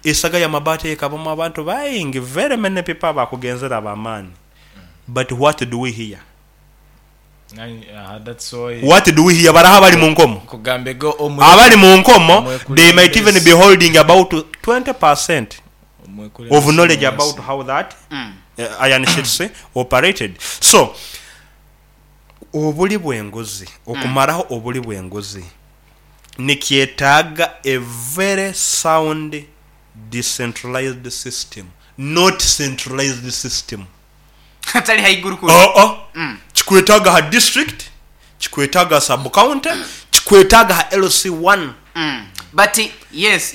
Esaga y'amabaati ekabamu abantu baingi, very many people abakugenzere ab'amaani, but what do we hear? What do we hear? Baraha abali mu nkomo? Abali mu nkomo they might even be holding about 20% of knowledge about how that iron sheets operated. So, obuli bw'enguzi, okumaraho obuli bw'enguzi nikyetaaga a very sound decentralized system not centralized system. Hatali haiguru kuri. Oo, kikwetaaga ha district, kikwetaaga ha sub county, kikwetaaga ha LC one. But yes.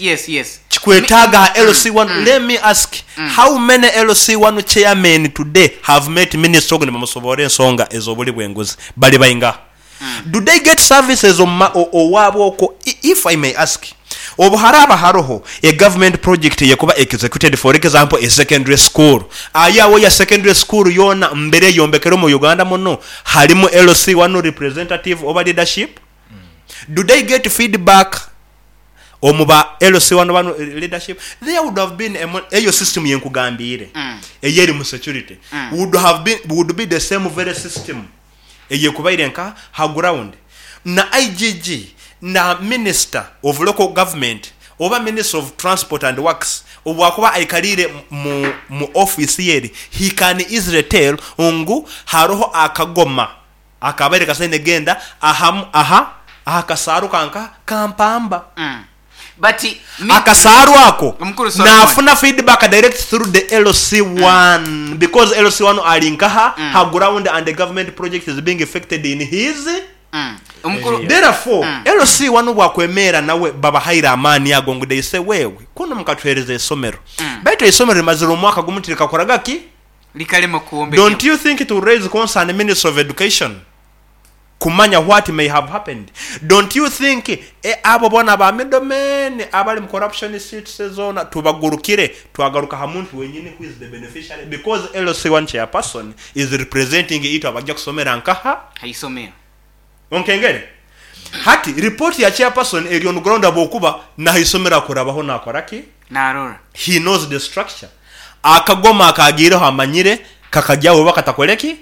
Kikwetaaga ha LC one. Let me ask, how many LC one chairmen today have met minister ogu nibamusoboora ensonga ez'obuli bw'enguzi? Bali baingaha? Do they get services omu ma owaabwe okwo? If I may ask, obu haraaba haroho a government project eyekuba executed for example a secondary school, aye awo ya secondary school yoona mbere eyombekerwe mu Uganda muno harimu LC one representative oba leadership? Do they get feedback omu ba LC one banu leadership? There would have been a eyo system yenkugambiire eyeri mu security would have been would be the same very system eyekubaire nka ha ground na IGG na minister of local government oba minister of transport and works obwakuba aikaliire mu mu office ye eri he can easily tell ngu haroho akagoma akabaire kasaine genda aha aha aha kasaaru ka nka ka Mpamba. But me Akasaaru ako Omukuru Solomon. nafuna feedback direct through the LC1 because LC1 ali nkaha ha ground and the government project is being effected in his Omukuru Therefore, LC1 obwakwemeera nawe babahaire amaani ago ngu they say wewe kunu mukatuhereza eisomero baitu eisomero rimazire omwaka gumu tirikakoraga ki? Likalema kwombekebwa. Don't you think it will raise concern Ministry of Education kumanya what may have happened? Don't you think e abo bona ba middlemen abali mu corruption seats zona tubagurukire twagaruka ha muntu wenyini who is the beneficiary because LC1 chairperson is representing itwe abajja kusomera nkaha? Haisomero. Onkengere? Hati report ya chairperson eri on ground habwokuba nahaisomero akurabaho nakora ki? Narora. He knows the structure. Akagoma akagiireho amanyire kakagyaho oba katakore ki?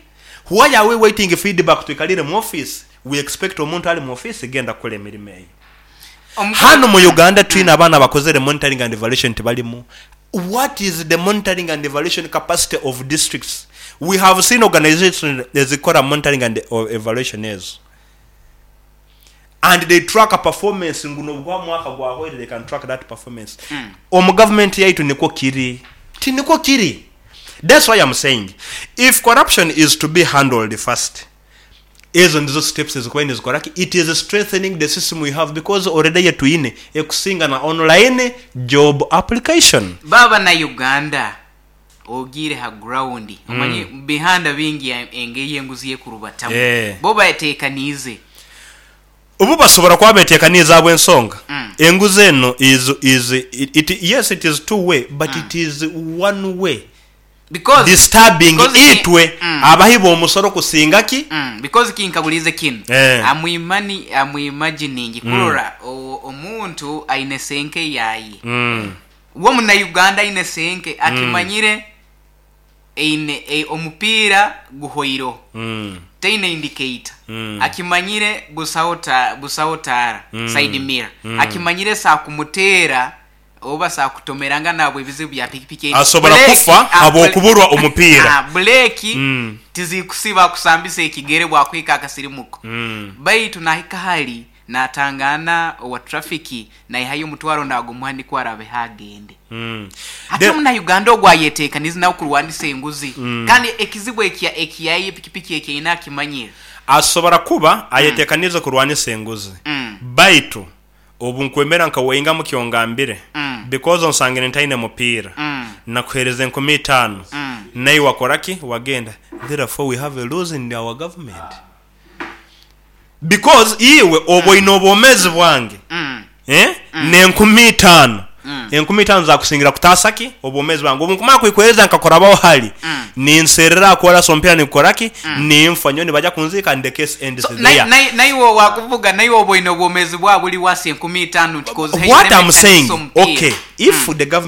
Why are we waiting feedback twikalire mu office? We expect omuntu ali mu office genda kukora emirimo eyo. Hanu mu Uganda twine abaana abakozere monitoring and evaluation tibalimu. What is the monitoring and evaluation capacity of districts? We have seen organizations ezikora monitoring and evaluation ezo and they track performance ngu nobuguba mwaka gwahweire they can track that performance. Omu government yaitu nikwo kiri? Tinikwo kiri. That's why am saying if corruption is to be handled first ezo nizo steps ezikubaire nizikora ki? It is strengthening the system we have because already eyetwine ekusinga na online job application. Baaba na Uganda ogiire ha ground omanye mubihanda bingi engeri enguzi yekurubatamu bo batekaniize. Obu basobora kuba betekaniize ahabw'ensonga enguzi eno is is it yes it is two way but it is one way Because disturbing because ki itwe abahi b'omusoro kusinga ki? Because kinkaguliize kinu Eh. am imani am imagining kurora omuntu aine senke yaye Uwe Omunauganda aine senke akimanyire eine omupiira guhweireho, taine indicator, akimanyire busaho ta busaho taara, side mirror, akimanyire sakumuteera oba sakutomerangana ahabw'ebizibu bya pikipiki egi. Asobora Buleeki kufa ah habw'okuburwa omupiira. ah buleeki tizikusiba akusambisa ekigere bwakuhika akasirimuko. Baitu nahika hali Naatangaana owa trafiki naihayo omutwaro naagumuha nikwo araabeho agende. Hati Omunauganda ogwo ayeteekaniize nawe kurwanisa enguzi kandi ekizibu eki eki yaye pikipiki eki aine akimanyire. Asobora kuba ayeteekaniize kurwanisa enguzi baitu obu nkwemera nka waingamu kyongambire because onsangire ntaine mupiira nakuheereza 5000 naiwe wakora ki wagenda therefore we have a lose in our government. Because iwe oba oine obwomezi bwange eh, n'enkumi itaano, 5000 zakusingira kutaasa ki? Obwomezi bwange. Obu nkumara kwikwereza nkakurabaho hali, ninserera aha koorasi omupiira nigukora ki? Ninfa. Nyowe nibaja kunziika and the case ends So, there. naiwe owakuvuga naiwe oba oine obwomezi bwa buli wasi 5000 nti kozi What haine am saying, mekanisa omupiira. okay, if the government.